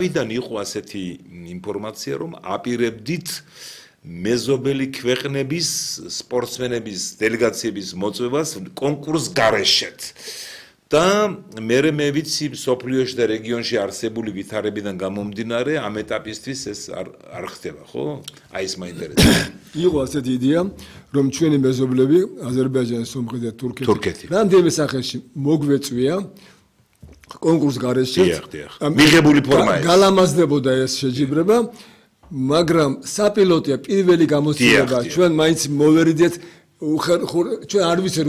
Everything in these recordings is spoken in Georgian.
ვიდან იყო ასეთი ინფორმაცია, რომ აპირებდით მეზობელი ქვეყნების სპორტსმენების დელეგაციების მოწვევას კონკურს გარეშეთ. და მე ვიცი სოფლიოში და რეგიონში არსებული ვითარებიდან გამომდინარე ამ ეტაპისთვის ეს არ ხდება, ხო? აი ეს მაინტერესებს. იყო ასეთი იდეა, რომ ჩვენი მეზობლები აზერბაიჯანი, სომხეთი და თურქეთი რამდენიმე სახეში მოგვეწვია კონკურს გარეშე. მიღებული ფორმა ეს. გალამაზდებოდა ეს შეჯიბრება, მაგრამ საპილოტია პირველი გამოცდილება ჩვენ მაინც მოვერიდეთ ჩვენ არ ვიცი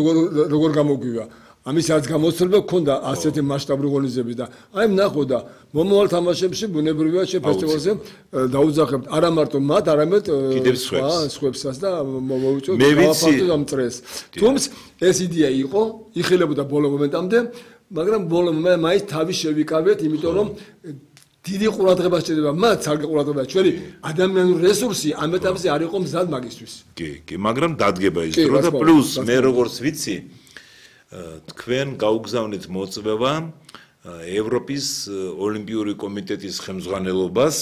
როგორ გამოგვივა. ამისაც გამოცდილება გქონდა ასეთი მასშტაბური ღონისძიების და აი ნახო და მომავალ თამაშებში ბუნებრივია შეფესტივალზე დაუძახებთ არა მარტო მათ, არამედ სხვებსაც და მოვუწევთ გავაფართოვოთ ამ წრეს. თუმცა ეს იდეა იყო, იხილებოდა ბოლო მომენტამდე, მაგრამ ბოლო მომენტში მაინც თავი შევიკავეთ, იმიტომ რომ დიდი ყურადღება სჭირდება მათ, სარგე ყურადღება ჩვენი ადამიანური რესურსი ამ ეტაპზე არ იყო მზად მაგისთვის. კი, მაგრამ დადგება ის დრო და პლუს მე როგორც ვიცი თქვენ გაუგზავნეთ მოწვევა ევროპის ოლიმპიური კომიტეტის ხელმძღვანელობას,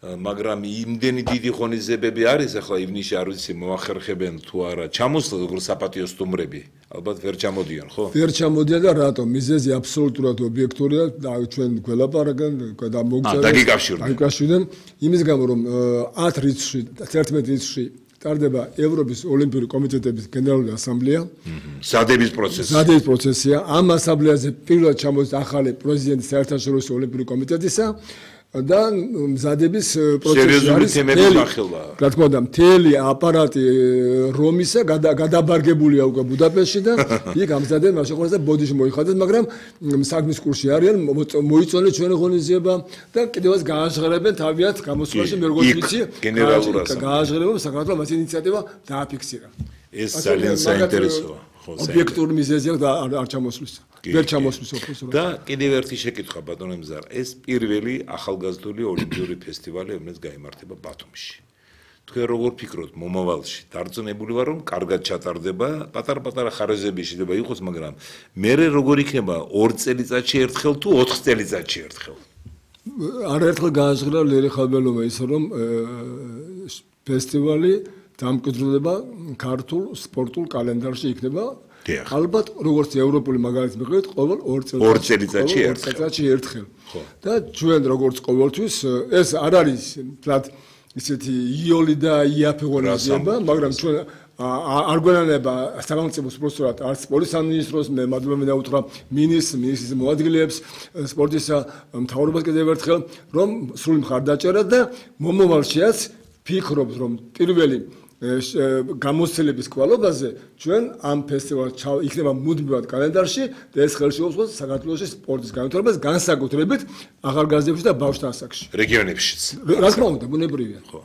მაგრამ იმდენი დიდი ღონისძიებები არის, ახლა ივნისში არ ვიცი მოახერხებენ თუ არა, ჩამოსვლა როგორც საპატიო სტუმრები, ალბათ ვერ ჩამოდიან, ხო? ვერ ჩამოდიან და რატომ? მიზეზი აბსოლუტურად ობიექტურია და ჩვენ გველაპარაკენ და დაგიკავშირდნენ. იმის გამო რომ 10 რიცხვში, 11 რიცხვში ტარდება ევროპის ოლიმპიური კომიტეტების გენერალური ასამბლეა. ზადების პროცესია. ამ ასამბლეაზე პირველად ჩამოდის ახალი პრეზიდენტი საერთაშორისო ოლიმპიური კომიტეტისა და მზადების პროცესი არის რა თქმა უნდა მთელი აპარატი რომისა გადაბარგებულია უკვე ბუდაპეშტში და იქ ამზადნენ მაშინ ყოველდღე ბოდიში მოიხადეს, მაგრამ საქმის კურსში არიან, მოიწონეს ჩვენი ღონისძიება და კიდევაც გააჟღერებენ თავიანთ გამოსვლაში მე როგორც ვიცი გააჟღერებენ საქართველოს მას ინიციატივა დააფიქსირა. ეს ძალიან საინტერესოა. ობიექტური მიზეზია და არ ჩამოსვლის. ვერ ჩამოსვლის ოქროს. და კიდევ ერთი შეკითხვა ბატონო მზარა, ეს პირველი ახალგაზრდული ოლიმპიური ფესტივალი, რომელიც გაიმართება ბათუმში. თქვენ როგორ ფიქრობთ მომავალში? დარწმუნებული ვარ, რომ კარგად ჩატარდება, პატარ-პატარა ხარიზები შეიძლება იყოს, მაგრამ მე როგორ იქნება 2 წელიწადში ერთხელ თუ 4 წელიწადში ერთხელ? არაერთხელ გააჟღერა ლელი ხაბელოვა ის, რომ ფესტივალი დამკვიდრდება ქართულ სპორტულ კალენდარში იქნება. ალბათ როგორც ევროპული მაგალითი მიყვეთ, ყოველ 2 წელიწადში ერთხელ. და ჩვენ როგორც ყოველთვის ეს არ არის თლად ისეთი იოლი და იაფი ღონისძიება, მაგრამ ჩვენ არ გვენანება სახელმწიფო სპორტსურად არც სპორტის სამინისტროს მე მადლობა დაუთხრა მინისტრის მოადგილეებს სპორტისა მთავრობას კიდევ ერთხელ რომ სრული მხარდაჭერა და მომავალშიაც ფიქრობთ რომ პირველი გამოცდილების კვალობაზე ჩვენ ამ ფესტივალს იქნება მუდმივად კალენდარში და ეს ხელში უწყობს საქართველოს სპორტის განვითარებას განსაკუთრებით ახალგაზრდებში და ბავშვთა ასაკში რეგიონებშიც რა თქმა უნდა ბუნებრივია ხო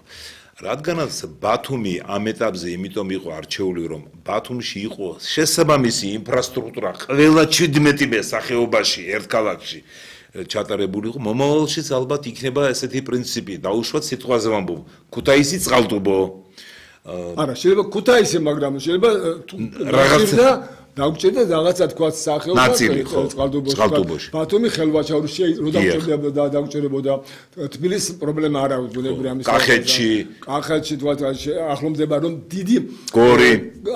რადგანაც ბათუმი ამ ეტაპზე იმიტომ იყო არჩეული რომ ბათუმში იყო შესაბამისი ინფრასტრუქტურა ყველა 17 სახეობაში ერთ ქალაქში ჩატარებული იყო მომავალშიც ალბათ იქნება ესეთი პრინციპი დაუშვათ სიტყვაზე ვამბობ ქუთაისი წყალტუბო არა შეიძლება ქუთაისი მაგრამ შეიძლება რაღაცა დაგვჭირდა რაღაცა თქვა სახეობა წყალტუბოში ბათუმი ხელვაჩაურში რო დაგვჭირებოდა თბილისის პრობლემა არ აქვს ბუნებრივი ამის კახეთში თქვა ახლომდება რომ დიდი გორი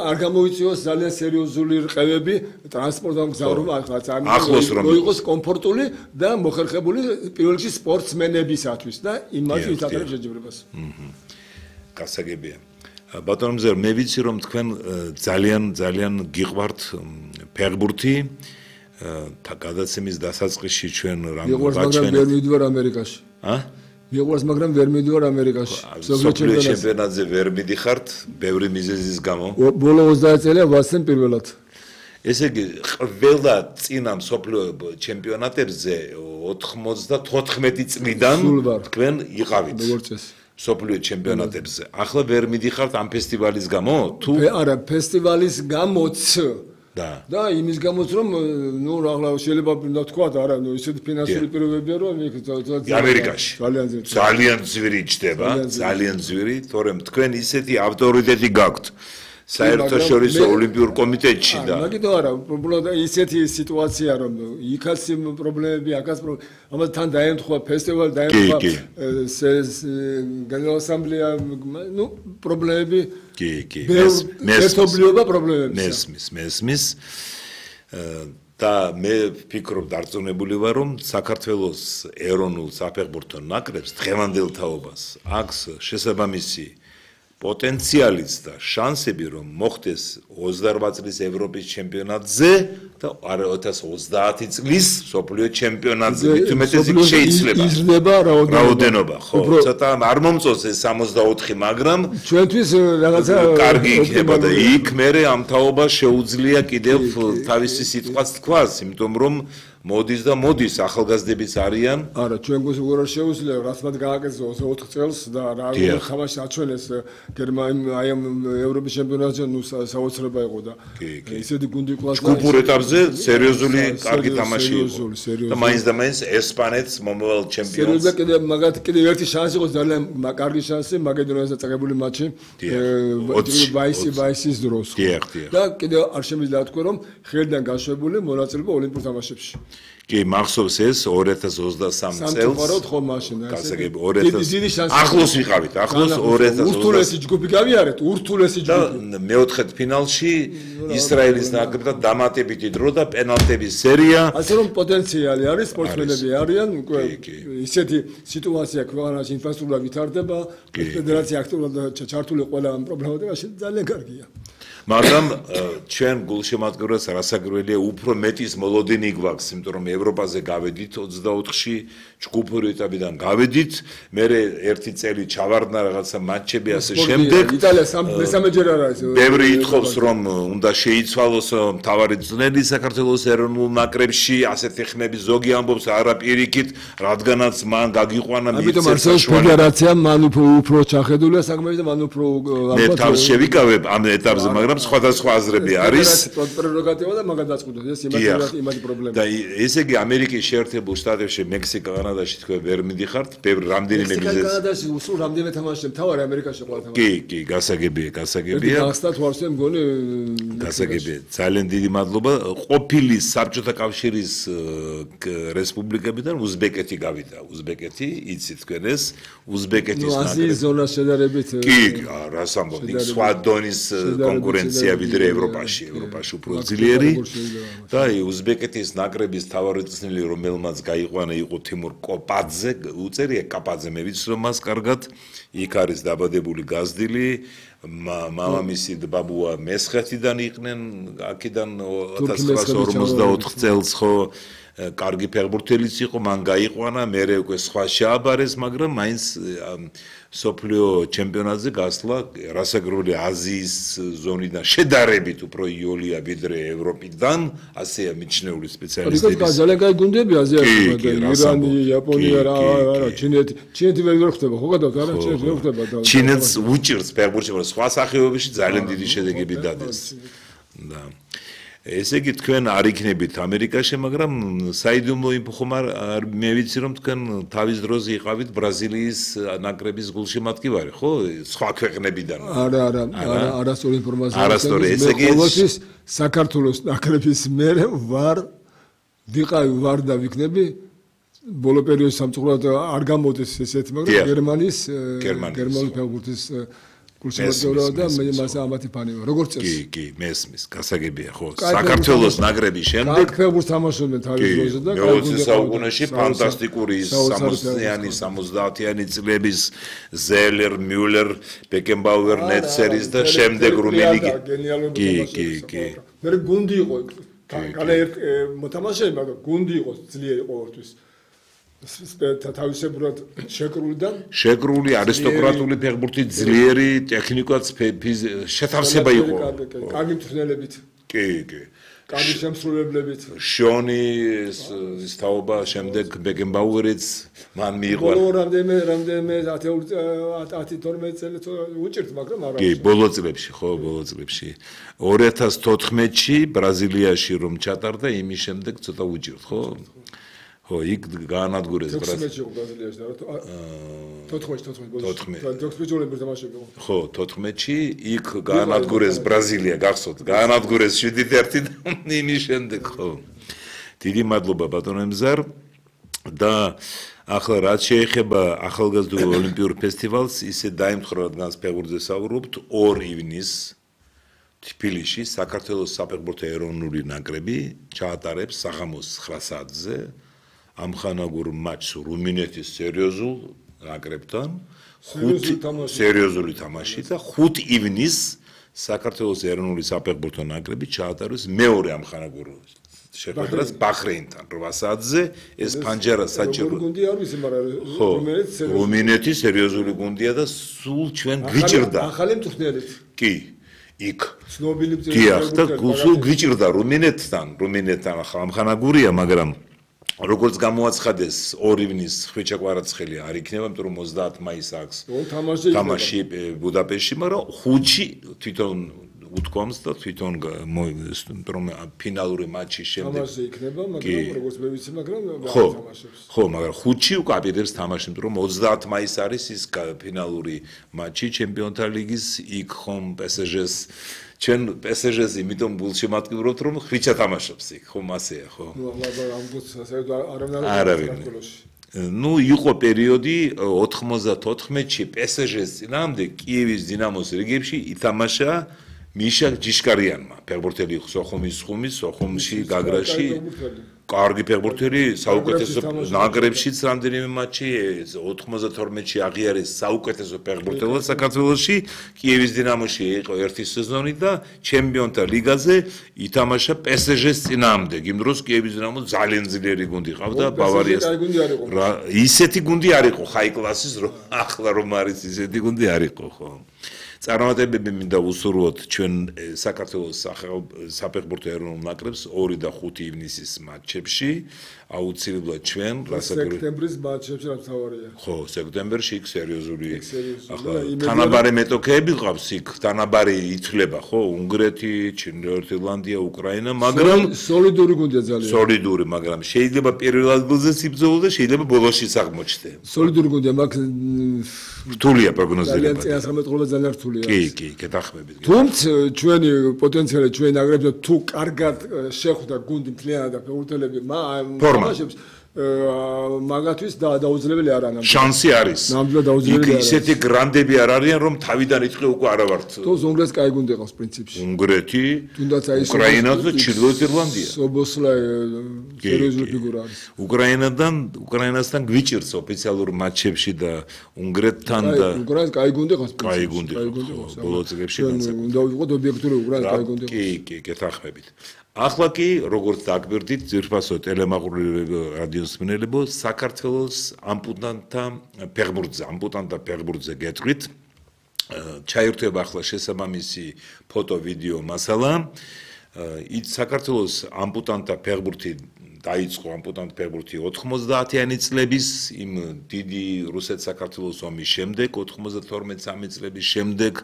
არ გამოიწვიოს ძალიან სერიოზული რყევები ტრანსპორტთან გზავრობა ახლოს რომ იყოს კომფორტული და მოხერხებული პირველ რიგში სპორტსმენებისათვის და იმაში ვითარებს შეჯიბრებას გასაგებია ბატონო მზერ მე ვიცი რომ თქვენ ძალიან გიყვართ ფეხბურთი გადაცემის დასაწყისში ჩვენ რამ ვაჩვენეთ ვერ მივიდივარ ამერიკაში მიყვარს მაგრამ ვერ მივიდივარ ამერიკაში სოფლიო ჩემპიონატზე ვერ მიდიხართ ბევრი მიზეზის გამო ბოლო 30 წელია ვასწრებ პირველად ესე იგი ყველა წინა სოფლიო ჩემპიონატებზე 94 წლიდან თქვენ იყავით როგორც წესი სოფლიო ჩემპიონატებზე. ახლა ვერ მიდიხართ ამ ფესტივალის გამო? თუ არა, ფესტივალის გამოც. და იმის გამოც რომ ნუ ახლა შეიძლება თქვა არა, ნუ ისეთი ფინანსური პირობებია რომ იქ ამერიკაში ძალიან ძვირი ჩდება, ძალიან ძვირი, თორემ თქვენ ისეთი ავტორიტეტი გაქვთ საერთაშორისო ოლიმპიურ კომიტეტში და მაგითო არა, უბრალოდ ისეთი სიტუაცია რომ იქაც პრობლემები, აქაც ამას თან დაემთხვა ფესტივალი, დაემთხვა გენერალური ასამბლეა, ნუ პრობლემები კი ერთობლიობა პრობლემებია. მესმის და მე ვფიქრობ დარწმუნებული ვარ რომ საქართველოს ეროვნულ საფეხბურთო ნაკრებს დღევანდელ თაობას აქვს შესაბამისი პოტენციალიც და შანსები რომ მოხდეს 28 წლის ევროპის ჩემპიონატზე და 2030 წლის მსოფლიო ჩემპიონატზე მithumetezi შეიძლება იზრდება რაოდენობა ხო ცოტა არ მომწონს ეს 64 მაგრამ ჩვენთვის რაღაცა კარგი იქნება და იქ მე ამ თაობას შეუძლია კიდევ თავისი სიტყვაც თქვას იმიტომ რომ მოდის ახალგაზრდებიც არიან არა ჩვენ გვაქვს რა შეუძლია რაც მათ გააკეთეს 4 წელს და რა ხამაში აჩვენეს გერმანია ამ ევროპის ჩემპიონატზე ნუ საოცრება იყო და ისეთი გუნდი კლასი ჯგუფურ ეტაპზე სერიოზული კარგი თამაში იყო და მაინც ესპანეთს მომავალ ჩემპიონს სერიოზულად კიდევ ერთი შანსი იყო ძალიან კარგი შანსი მაკედონიასთან წაგებული მატჩი ვაისის დროს და კიდევ არ შემიძლია თქვა რომ ხელიდან გაშვებული მონაწილეობა ოლიმპიურ თამაშებში კი მახსოვს ეს 2023 წელს ხო მაშინ გასაგები 2000 ახლოს ვიყავით ახლოს 2000 ურთულესი ჯგუფი გავიარეთ ურთულესი ჯგუფი მეოთხედ ფინალში ისრაელის ნაკრებთან დამატებითი დრო და პენალტების სერია ასე რომ პოტენციალი არის სპორტსმენები არიან უკვე ისეთი სიტუაცია ქვეყანაში ინფრასტრუქტურა ვითარდება ფედერაცია აქტიურად ჩართული ყველა ამ პრობლემებში ძალიან კარგია მაგრამ ჩვენ გულშემატკივრებს რასაკვირველია უფრო მეტის მოლოდინი გვაქვს იმიტომ რომ ევროპაზე გავედით 24-ში ჯგუფური ეტაპიდან გავედით მე ერთი წელი ჩავარდნა რაღაცა მატჩები ასე შემდეგ იტალია მესამეჯერ არა ეს ბევრი ითხოვს რომ უნდა შეიცვალოს მთავარი წნელი საქართველოს ეროვნულ ნაკრებში ასეთი ხმები ზოგი ამბობს არა პირიქით რადგანაც მან გაგიყვანა ამიტომ არსებობს ფედერაცია მან უფრო ჩახედულია საქმეში და მან უფრო მე თავს შევიკავებ ამ ეტაპზე მაგრამ სხვადასხვა აზრები არის პრეროგატივა და მაგას დაწყვეტოს ეს იმათი პრობლემა და ესე იგი ამერიკის შეერთებულ შტატებში მექსიკა კანადაში თქვენ ვერ მიდიხართ ბევრი რამდენიმე მიზეზი კანადაში სულ რამდენიმე თამაშია მთავარი ამერიკაში ყველა კი თამაში გასაგებია გასტათ ვარსე მგონი გასაგებია ძალიან დიდი მადლობა ყოფილი საბჭოთა კავშირის რესპუბლიკებიდან უზბეკეთი გავიდა უზბეკეთი იცით თქვენ ეს უზბეკეთის აზიის ზონას შედარებით კი რას ამბობ იქ სხვა დონის კონკურენცია ვიდრე ევროპაში უფრო ძლიერი და უზბეკეთის ნაკრების თავარი წნელი რომელმაც გაიყვანა იყო თიმურ კოპაძე უწერია კაპაძე მე ვიცი მას კარგად იქ არის დაბადებული გაზრდილი მამამისი ბაბუა მესხეთიდან იყვნენ აქედან 1954 წელს ხო კარგი ფეხბურთელიც იყო მან გაიყვანა მერე უკვე სხვა შეაბარეს მაგრამ მაინც სოფლიო ჩემპიონატზე გასვლა რასაკვირველია აზიის ზონიდან შედარებით უფრო იოლია ვიდრე ევროპიდან ასეა მიჩნეული სპეციალისტები ძალიან კარგი გუნდები აზიაში ირანი იაპონია რა ჩინეთი ვერ ხდება ხო გადავთ არა ჩინეთი ვერ ხდება ჩინეთს უჭირს ფეხბურთში სხვა სახეობებში ძალიან დიდი შედეგები დადეს და ესე იგი თქვენ არ იქნებით ამერიკაში, მაგრამ საიდუმლო ხომ არ მე ვიცი რომ თქვენ თავის დროზე იყავით ბრაზილიის ნაკრების გულშემატკივარი, ხო? სხვა ქვეყნებიდან. არა, არასწორი ინფორმაცია. არასწორი, ესე იგი საქართველოს ნაკრების მე ვარ და ვიქნები ბოლო პერიოდში სამწუხაროდ არ გამოდის ესეთი, მაგრამ გერმანიის ფეხბურთის გულშემატკივარი და მე მას ამათი ფანი ვარ. როგორც წესი. კი, მესმის, გასაგებია ხო. საქართველოს ნაკრების შემდეგ ფეხბურთს თამაშობდნენ თავის დროზე და 20 საუკუნეში ფანტასტიკური 60-იანი, 70-იანი წლების ზელერ, მიულერ, ბეკენბაუერ, ნეცერის და შემდეგ რუმინიგი. კი. მე გუნდი იყო. კალა მოთამაშე, მაგრამ გუნდი იყო ძლიერი ყოველთვის. თავისებურად შეკრული არისტოკრატული ფეხბურთი ძლიერი ტექნიკაც შეთავსება იყო კარგი მწვრთნელებით კი კარგი შემსრულებლებით შონი ის თაობა შემდეგ ბეკენბაუერიც მან მიიღო რამდენიმე 10-12 წელი უჭირთ მაგრამ არა კი ბოლო წლებში 2014-ში ბრაზილიაში რომ ჩატარდა იმის შემდეგ ცოტა უჭირთ ხო ხო, იქ გაანადგურეს ბრაზილიაში იყო ბრაზილიაში და 14-ში ოლიმპიურ თამაშებში იყო. ხო, 14-ში იქ გაანადგურეს ბრაზილია, გახსოვთ, გაანადგურეს 7-1 და იმის შემდეგ, ხო. დიდი მადლობა ბატონო ემზარ და ახლა რაც შეეხება ახალგაზრდულ ოლიმპიურ ფესტივალს, ისე დაემთხრა, რადგან ფეხბურთზე საუბრობთ, 2 ივნისს თბილისში საქართველოს საფეხბურთო ეროვნული ნაკრები ჩაატარებს საღამოს 9 საათზე ამხანაგურ მატჩს რუმინეთის სერიოზულ ნაკრებთან, სერიოზული თამაში და 5 ივნისს საქართველოს ეროვნული საფეხბურთო ნაკრები ჩაატარებს მეორე ამხანაგურ შეხვედრას ბაჰრეინთან 8 საათზე ეს ფანჯარა საჭირო გუნდი არ ვიცი, მაგრამ რუმინეთის სერიოზული გუნდია და სულ ჩვენ გვიჭირდა ახალი მწვრთნელით. კი იქ ცნობილი დიახ და სულ გვიჭირდა რუმინეთთან ახლა ამხანაგურია, მაგრამ როგორც გამოაცხადეს 2 ივნისს ხვიჩა კვარაცხელი არ იქნება, იმიტომ რომ 30 მაისს აქვს თამაში ბუდაპეშტში, მაგრამ 5-ში თვითონ უთქვამს და თვითონ რომ ფინალური მატჩის შემდეგ თამაში იქნება, მაგრამ როგორც მე ვიცი, მაგრამ თამაშობს. ხო, მაგრამ 5-ში უკვე აპირებს თამაში, იმიტომ რომ 30 მაისს არის ის ფინალური მატჩი ჩემპიონთა ლიგის, იქ ხომ PSG-ს ჩვენ PSG-ს იმიტომ გულშემატკივრობთ, რომ ხვიჩა თამაშობს იქ, ხომ ასეა, ხო? ნუ იყო პერიოდი 94-ში PSG-ს წინააღმდეგ კიევის დინამოს რიგებში ითამაშა მიშა ჯიშკარიანმა, ფეხბურთელი სოხუმის ხუმის, სოხუმში, გაგრაში, კარგი ფეხბურთელი, საუკეთესო ნაკრებშიც რამდენიმე მატჩი, 92-ში აღიარეს საუკეთესო ფეხბურთელად საქართველოში, კიევის დინამოში იყო 1 სეზონი და ჩემპიონთა ლიგაზე ითამაშა PSG-ს წინააღმდეგ. იმ დროს კიევის დინამო ძალიან ძლიერი გუნდი ყავდა ბავარიას. ისეთი გუნდი არ იყო, ჰაი კლასის, ახლა რომ არის ისეთი გუნდი არ იყო, ხო? წარმატებები მინდა უსურვოთ ჩვენ საქართველოს საფეხბურთო ეროვნულ ნაკრებს 2 და 5 ივნისის მატჩებში, აუცილებლად ჩვენ სექტემბრის მატჩებში რა თავარია. ხო, სექტემბერში იქ სერიოზული ახლა თანაბარი მეტოქეები ყავს იქ, თანაბარი ითვლება, ხო, უნგრეთი, ჩრდილოეთ ირლანდია, უკრაინა, მაგრამ სოლიდური გუნდია ძალიან. სოლიდური, მაგრამ შეიძლება პირველ ადგილზეც იბრძოლოს და შეიძლება ბოლოშიც აღმოჩნდეს. სოლიდური გუნდია, მაგ რთულია პროგნოზირება. ძალიან რთულია. კი, გეთახმებით. თუმცა ჩვენი პოტენციალი, ჩვენი ნაკრები თუ კარგად შეხვდა გუნდი მთლიანად და ფეხბურთელები თამაშობს მაგათვის დაუძლებელი არ არის. შანსი არის. ნამდვილად დაუძლებელი არის. ისეთი გრანდები არ არიან, რომ თავიდან იტყვი უკვე არა ვართ. თოს უნგრეთს კაი გუნდი ყავს პრინციპში. უნგრეთი, თუნდაც აი უკრაინა და ჩრდილოეთ ირლანდია. სობოსლაი სერიოზული ფიგურა არის. უკრაინასთან გვიჭირს ოფიციალურ მატჩებში და უნგრეთთან და უკრაინას კაი გუნდი ყავს. კაი გუნდი ყავს. ბოლო წლებში განსაკუთრებით. უნდა ვიყოთ ობიექტური უკრაინა კაი გუნდი ყავს. კი, გეთახმებით. ახლა კი როგორც დაგვირდით ძირფასო ტელემაყურებელი რადიოს მსმენელებო საქართველოს ამპუტანტთა ფეხბურთზე გეტყვით ჩაირთვება ახლა შესაბამისი ფოტო ვიდეო მასალა საქართველოს ამპუტანტთა ფეხბურთი დაიწყო ამპუტანტთა ფეხბურთი 90-იანი წლების იმ დიდი რუსეთ-საქართველოს ომის შემდეგ 92-93 წლების შემდეგ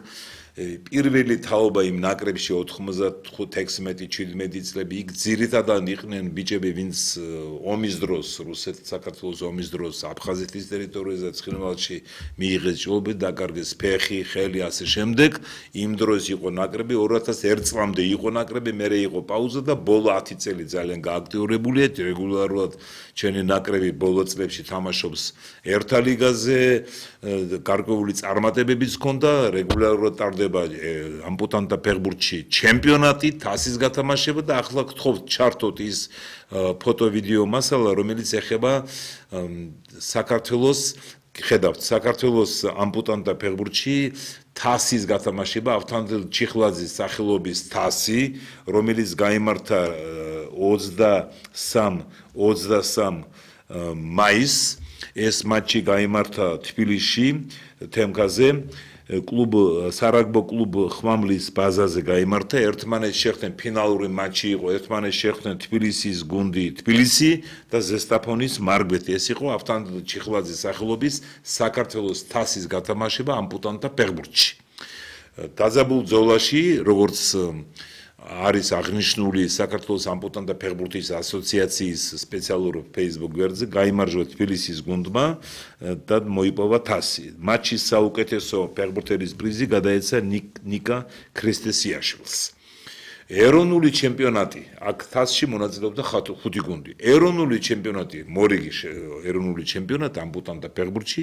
პირველი თაობა იმ ნაკრებში 95-16-17 წლები იქ ძირითადად იყვნენ ბიჭები, ვინც ომის დროს, რუსეთ-საქართველოს ომის დროს აფხაზეთის ტერიტორიაზე და ცხინვალში მიიღეს ჭრილობები, დაკარგეს ფეხი, ხელი, ასე შემდეგ. იმ დროს იყო ნაკრები 2001 წლამდე იყო ნაკრები, მერე იყო პაუზა და ბოლო 10 წელი ძალიან გააქტიურებულია, რეგულარულად ჩვენი ნაკრები ბოლო წლებში თამაშობს ერთა ლიგაზე, გარკვეული წარმატებებიც ჰქონდა, რეგულარულად ტარდება ამპუტანტთა ფეხბურთში ჩემპიონატი, თასის გათამაშება და ახლა გთხოვთ ჩართოთ ის ფოტო ვიდეო მასალა, რომელიც ეხება საქართველოს საქართველოს ამპუტანტთა ფეხბურთში თასის გათამაშება, ავთანდილ ჩიხლაძის სახელობის თასი, რომელიც გაიმართა 23 მაისს. ეს მატჩი გაიმართა თბილისში, თემკაზე. კლუბ სარაგბო კლუბ ხმამლის ბაზაზე გაიმართა. ერთმანეთს შეხვდნენ ფინალური მატჩი იყო, ერთმანეთს შეხვდნენ თბილისის გუნდი თბილისი და ზესტაფონის მარგვეთი. ეს იყო ავთანდილ ჩიხლაძის სახელობის საქართველოს თასის გათამაშება ამპუტანტთა ფეხბურთში. დაძაბულ ბრძოლაში, როგორც არის აღნიშნული საქართველოს ამპუტანტთა ფეხბურთის ასოციაციის სპეციალურ Facebook გვერდზე, გაიმარჯვა თბილისის გუნდმა და მოიპოვა თასი. მატჩის საუკეთესო ფეხბურთელის პრიზი გადაეცა ნიკა ქრისტესიაშვილს. ეროვნული ჩემპიონატი, აქ თასში მონაწილეობდა 5 გუნდი. ეროვნული ჩემპიონატი, მორიგი ეროვნული ჩემპიონატი ამპუტანტთა ფეხბურთში